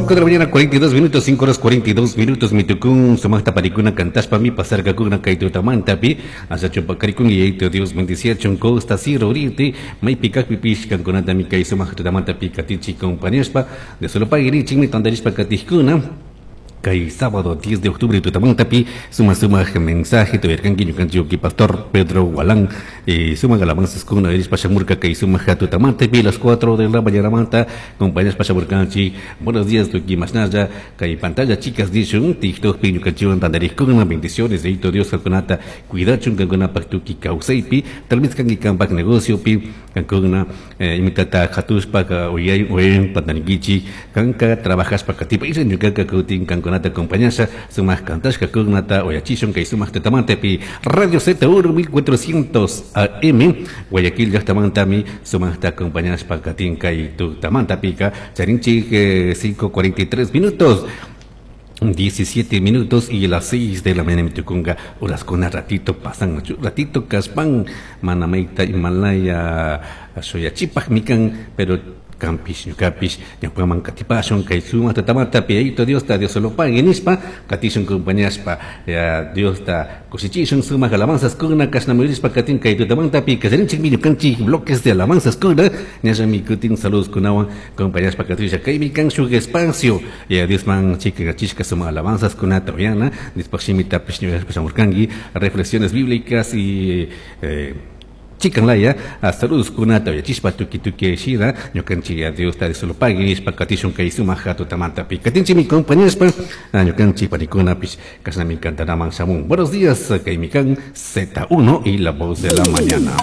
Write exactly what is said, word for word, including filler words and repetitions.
Cinco de la mañana, cuarenta y dos minutos, cinco horas cuarenta y dos minutos, mitukun, sumaqta paykuna kantashpa mi pasarkakuna kay tutamantapi, asha chupakarikun y Dios bendiciachun Costa Sierra Oriente, maypi kajpipish kankunatami kay sumaq tutamantapi katinchik compañashpa, de solo pagirichikmi tantarishpa katijkuna, kay sábado diez de octubre tutamantapi suma suma mensaje tuyarkanki ñukanchik pastor Pedro Gualán, eh, suma alabanzas kuna erishpa shamurka kay suma tutamantapi las cuatro de la mañana manta compañeros pashamurkanchik. Buenos días tuki mashnalla kay pantalla chicas dishun TikTok pi ñukanchikwan tantarikuna. Bendiciones de Dios kankunata cuidachun kankunapak tuki kawsaypi, tal vez kanki kanpak negocio pi kankuna, eh, imitata hatushpa uyay uyayn pantanikichik kanka trabajashpa katipa isha ñukanka kutin kankunata acompañasha sumaq kantashka kunata uyachishun kay sumaq tutamantapi Radio Z uno mil cuatrocientos A M Guayaquil llaqtamantami sumaqta acompañashpa katin kay tutamantapika charinchik eh, cinco cuarenta y tres minutos, diecisiete minutos y las seis de la mañana mitukunga horas con ratito pasan ratito kaspan mana mayta Himalaya shuyachipaj mikan, pero kampish ñukapish ñukaman katipashun kay sumaq tutamantapi Yayito Diosta Dios solo pague nishpa katishun compañashpa ya Diosta kushichishun sumaq alabanzas kuna kashnamurishpa katin kay tutamantapi kallarinchikmi ñukanchik bloques de alabanzas kuna ñallami kutin saludos kunawan compañashpa katisha kaymi kan shuk espacio ya Diosman chikachishka sumaq alabanzas kunata uyana después shimitapish ñuyashpa shamurkanki reflexiones bíblicas y eh, chikanlaya saludos kunata uyachishpa tuki tuki shina ñukanchik ya Dios ta solo pague nishpa katishun kay sumaq tutamantapi katinchikmi compañerospa ñukanchik panikunapish kashnami kantanaman shamun. Buenos días, kaymi kan Z uno y la voz de la mañana.